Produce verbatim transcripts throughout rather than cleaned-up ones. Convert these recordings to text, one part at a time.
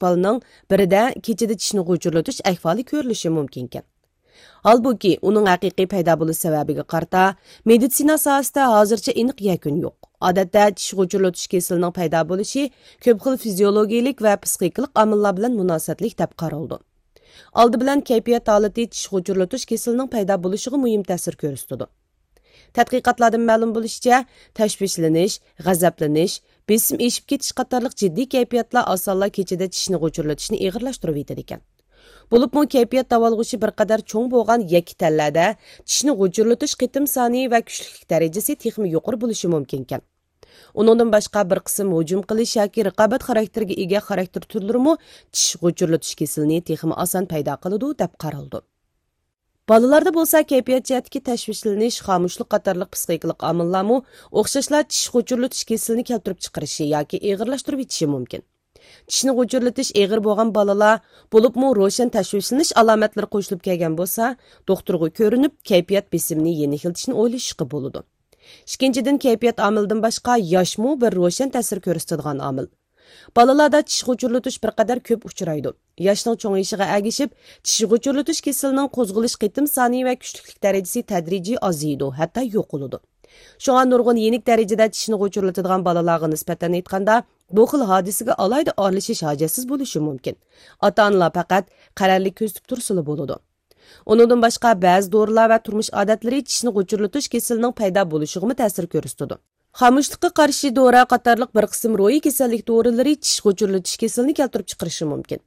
بالىنىڭ بىرىدە كېچىدە چىشنى غۇچۇرلىتىش ئەھۋالى كۆرۈلۈشى مۇمكىنكەن. ھالبۇكى، ئۇنىڭ ھەقىقىي پەيدا بولۇش سەۋەبىگە قارىتا، مېدىتسىنا ساھەسىدە ھازىرچە ئېنىق يەكۈن يوق. ئادەتتە، چىش غۇچۇرلىتىش كېسىلىنىڭ پەيدا بولۇشى كۆپ خىل فىزىيولوگىيىلىك ۋە پسىخىكىلىق ئامىللار بىلەن مۇناسىۋەتلىك دەپ قارىلىدۇ. ئالدى بىلەن كەيپىيات ھالىتى چىش غۇچۇرلىتىش كېسىلىنىڭ پەيدا بولۇشىغا مۇھىم تەسىر كۆرسىتىدۇ. تەتقىقاتلاردىن مەلۇم بولۇشىچە، تەشۋىشلىنىش، غەزەپلىنىش، بېسىم ئېشىپ كېتىش قاتارلىق جىددىي كەيپىياتلار ئاسانلا كېچىدە چىشنى غۇچۇرلىتىشنى ئېغىرلاشتۇرۇۋېتىدىكەن. بولۇپمۇ كەيپىيات داۋالغۇشى بىر قەدەر چوڭ بولغان يەككە تەنلەردە چىشنى غۇچۇرلىتىش قېتىم سانى ۋە كۈچلۈكلۈك دەرىجىسى تېخىمۇ يۇقىرى بولۇشى مۇمكىنكەن. ئۇنىڭدىن باشقا، بىر قىسىم ھۇجۇم قىلىش ياكى رىقابەت خاراكتېرىگە ئىگە خاراكتېر تۈرلىرىمۇ چىش غۇچۇرلىتىش كېسىلىنى تېخىمۇ ئاسان پەيدا قىلىدۇ، دەپ قارىلىدۇ. بالىلاردا بولسا كەيپىيات جەھەتتىكى تەشۋىشلىنىش، خامۇشلۇق قاتارلىق پسىخىكىلىق ئامىللارمۇ ئوخشاشلا چىش غۇچۇرلىتىش كېسىلىنى كەلتۈرۈپ چىقىرىشى ياكى ئېغىرلاشتۇرۇۋېتىشى مۇمكىن. چىشنى غۇچۇرلىتىش ئېغىر بولغان بالىلار، بولۇپمۇ روشەن تەشۋىشلىنىش ئالامەتلىرى قوشۇلۇپ كەلگەن بولسا، دوختۇرغا كۆرۈنۈپ، كەيپىيات بېسىمىنى يېنىكلىتىشنى ئويلىشىشقا بولىدۇ. ئىككىنچىدىن، كەيپىيات ئامىلىدىن باشقا ياشمۇ بىر روشەن تەسىر كۆرسىتىدىغان ئامىل. بالىلاردا چىش غۇچۇرلىتىش بىر قەدەر كۆپ ئۇچرايدۇ. ياشنىڭ چوڭىيىشىغا ئەگىشىپ، چىش غۇچۇرلىتىش كېسىلىنىڭ قوزغىلىش قېتىم سانى ۋە كۈچلۈكلۈك دەرىجىسى تەدرىجىي ئازىيىدۇ، ھەتتا يوقىلىدۇ. شۇڭا نۇرغۇن يېنىك دەرىجىدە چىشنى غۇچۇرلىتىدىغان بالىلارغا نىسبەتەن ئېيتقاندا، بۇ خىل ھادىسىگە ئالاھىدە ئارىلىشىش ھاجەتسىز بولۇشى مۇمكىن. ئاتا-ئانىلار پەقەت قەرەللىك كۆزىتىپ تۇرسىلا بولىدۇ. ئۇنىڭدىن باشقا، بەزى دورىلار ۋە تۇرمۇش ئادەتلىرى چىشنى غۇچۇرلىتىش كېسىلىنىڭ پەيدا بولۇشىغىمۇ تەسىر كۆرسىتىدۇ. خامۇشلۇققا قارشى دورا قاتارلىق بىر قىسىم روھىي كېسەللىك دورىلىرى چىش غۇچۇرلىتىش كېسىلىنى كەلتۈرۈپ چىقىرىشى مۇمكىن.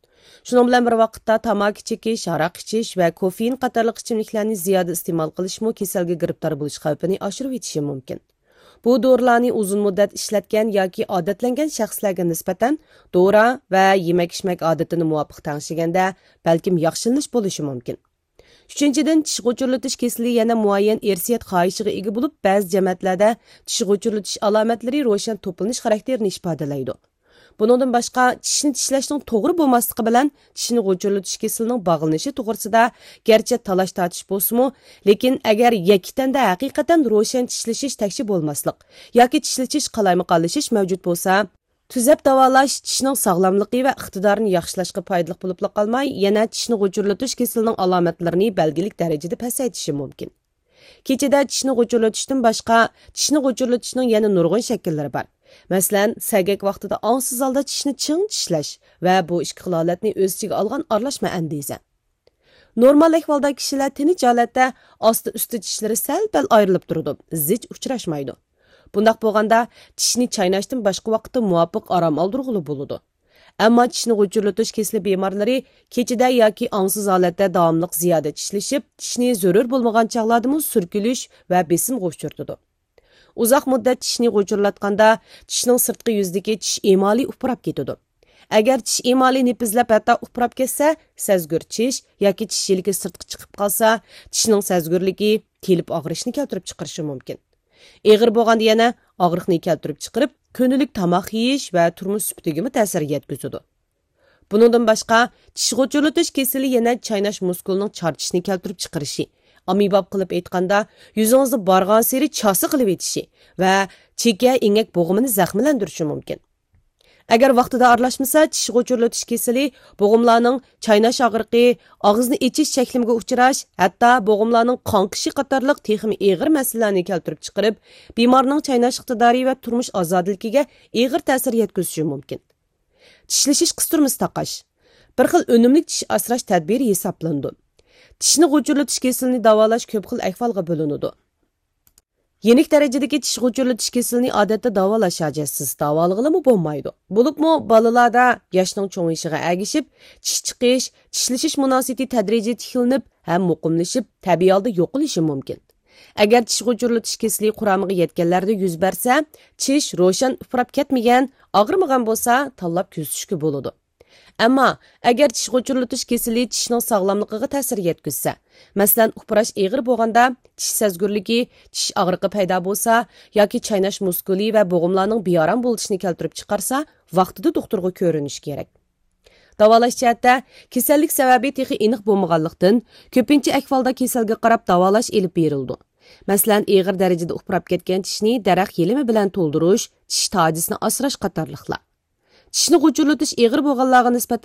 شۇنىڭ بىلەن بىر ۋاقىتتا، تاماكا چېكىش، ھاراق ئىچىش ۋە كوفېئىن قاتارلىق ئىچىملىكلەرنى زىيادە ئىستېمال قىلىشمۇ كېسەلگە گىرىپتار بولۇش خەۋپىنى ئاشۇرۇۋېتىشى مۇمكىن. بۇ دورىلارنى ئۇزۇن مۇددەت ئىشلەتكەن ياكى ئادەتلەنگەن شەخسلەرگە نىسبەتەن دورا ۋە يېمەك-ئىچمەك ئادىتىنى مۇۋاپىق تەڭشىگەندە، بەلكىم ياخشىلىنىش بولۇشى مۇمكىن. ئۈچىنچىدىن، چىش غۇچۇرلىتىش كېسىلى يەنە مۇئەييەن ئىرسىيەت خاھىشىغا ئىگە بولۇپ، بەزى جەمەتلەردە چىش غۇچۇرلىتىش ئالامەتلىرى روشەن توپلىنىش خاراكتېرىنى ئىپادىلەيدۇ. بۇنىڭدىن باشقا، چىشنى چىشلەشنىڭ توغرا بولماسلىقى بىلەن چىشنى غۇچۇرلىتىش كېسىلىنىڭ باغلىنىشى توغرىسىدا گەرچە تالاش-تارتىش بولسىمۇ، لېكىن ئەگەر يەككە تەندە ھەقىقەتەن روشەن چىشلىشىش تەكشى بولماسلىق ياكى چىشلىتىش قالايمىقانلىشىش مەۋجۇت بولسا، تۈزەپ داۋالاش چىشنىڭ ساغلاملىقى ۋە ئىقتىدارىنى ياخشىلاشقا پايدىلىق بولۇپلا قالماي، يەنە چىشنى غۇچۇرلىتىش كېسىلىنىڭ ئالامەتلىرىنى بەلگىلىك دەرىجىدە پەسەيتىشى مۇمكىن. كېچىدە چىشنى غۇچۇرلىتىشتىن باشقا، چىشنى غۇچۇرلىتىشنىڭ يەنە نۇرغۇن شەكىللىرى بار. مەسىلەن، سەگەك ۋاقتىدا ئاڭسىز ھالدا چىشنى چىڭ چىشلەش ۋە بۇ ئىككى خىل ھالەتنى ئۆز ئىچىگە ئالغان ئارىلاشما ئەندىزە. نورمال ئەھۋالدا كىشىلەر تىنچ ھالەتتە ئاستى-ئۈستى چىشلىرى سەل-پەل ئايرىلىپ تۇرىدۇ، زىچ ئۇچراشمايدۇ. بۇنداق بولغاندا، چىشنى چايناشتىن باشقا ۋاقىتتا مۇۋاپىق ئارام ئالدۇرغىلى بولىدۇ. ئەمما چىشنى غۇچۇرلىتىش كېسىلى بىمارلىرى كېچىدە ياكى ئاڭسىز ھالەتتە داۋاملىق زىيادە چىشلىشىپ، چىشنى زۆرۈر بولمىغان چاغلاردىمۇ سۈركىلىش ۋە بېسىمغا ئۇچرىتىدۇ. ئۇزاق مۇددەت چىشنى غۇچۇرلاتقاندا، چىشنىڭ سىرتقى يۈزىدىكى چىش ئېمالى ئۇپراپ كېتىدۇ. ئەگەر چىش ئېمالى نېپىزلەپ، ھەتتا ئۇپراپ كەتسە، سەزگۈر چىش ياكى چىش يىلىكى سىرتقا چىقىپ قالسا، چىشنىڭ سەزگۈرلۈكى تېلىپ ئاغرىشنى كەلتۈرۈپ چىقىرىشى مۇمكىن. ئېغىر بولغاندا يەنە ئاغرىقنى كەلتۈرۈپ چىقىرىپ، كۈندىلىك تاماق يېيىش ۋە تۇرمۇش سۈپىتىگىمۇ تەسىر يەتكۈزىدۇ. بۇنىڭدىن باشقا، چىش غۇچۇرلىتىش كېسىلى يەنە چايناش مۇسكۇلىنىڭ چارچىشىنى كەلتۈرۈپ چىقىرىشى، ئاممىباب قىلىپ ئېيتقاندا، يۈزىڭىزنى بارغانسېرى چاسا قىلىۋېتىشى ۋە چېكە ئېڭەك بوغۇمىنى زەخىملەندۈرۈشى مۇمكىن. ئەگەر ۋاقتىدا ئارىلاشمىسا، چىش غۇچۇرلىتىش كېسىلى بوغۇملارنىڭ چايناش ئاغرىقى، ئاغزىنى ئېچىش چەكلىمىگە ئۇچراش، ھەتتا بوغۇملارنىڭ قاڭقىشى قاتارلىق تېخىمۇ ئېغىر مەسىلىلەرنى كەلتۈرۈپ چىقىرىپ، بىمارنىڭ چايناش ئىقتىدارى ۋە تۇرمۇش ئازادىلىكىگە ئېغىر تەسىر يەتكۈزۈشى مۇمكىن. چىشلىشىش قىستۇرمىسى تاقاش بىر خىل ئۈنۈملۈك چىش ئاسراش تەدبىرى ھېسابلىنىدۇ. چىشنى غۇچۇرلىتىش كېسىلىنى داۋالاش كۆپ خىل ئەھۋالغا بۆلۈنىدۇ. يېنىك دەرىجىدىكى چىش غۇچۇرلىتىش كېسىلىنى ئادەتتە داۋالاش ھاجەتسىز، داۋالىغىلىمۇ بولمايدۇ. بولۇپمۇ بالىلاردا ياشنىڭ چوڭىيىشىغا ئەگىشىپ، چىش چىقىش، چىشلىشىش مۇناسىۋىتى تەدرىجىي تىكلىنىپ ھەم مۇقىملىشىپ، تەبىئىي ھالدا يوقىلىشى مۇمكىن. ئەگەر چىش غۇچۇرلىتىش كېسىلى قۇرامىغا يەتكەنلەردە يۈز بەرسە، چىش روشەن ئۇپراپ كەتمىگەن، ئاغرىمىغان بولسا، تاللاپ كۆزىتىشكە بولىدۇ. ئەمما ئەگەر چىش غۇچۇرلىتىش كېسىلى چىشنىڭ ساغلاملىقىغا تەسىر يەتكۈزسە، مەسىلەن، ئۇپراش ئېغىر بولغاندا، چىش سەزگۈرلۈكى، چىش ئاغرىقى پەيدا بولسا ياكى چايناش مۇسكۇلى ۋە بوغۇملارنىڭ بىئارام بولۇشىنى كەلتۈرۈپ چىقارسا، ۋاقتىدا دوختۇرغا كۆرۈنۈش كېرەك. داۋالاش جەھەتتە، كېسەللىك سەۋەبى تېخى ئېنىق بولمىغانلىقتىن، كۆپىنچە ئەھۋالدا كېسەلگە قاراپ داۋالاش ئېلىپ بېرىلىدۇ. مەسىلەن، ئېغىر دەرىجىدە ئۇپراپ كەتكەن چىشنى دەرەخ يېلىمى بىلەن تولدۇرۇش، چىش تاجىسىنى ئاسراش قاتارلىقلار. چىشنى غۇچۇرلىتىش ئېغىر بولغانلارغا نىسبەتەن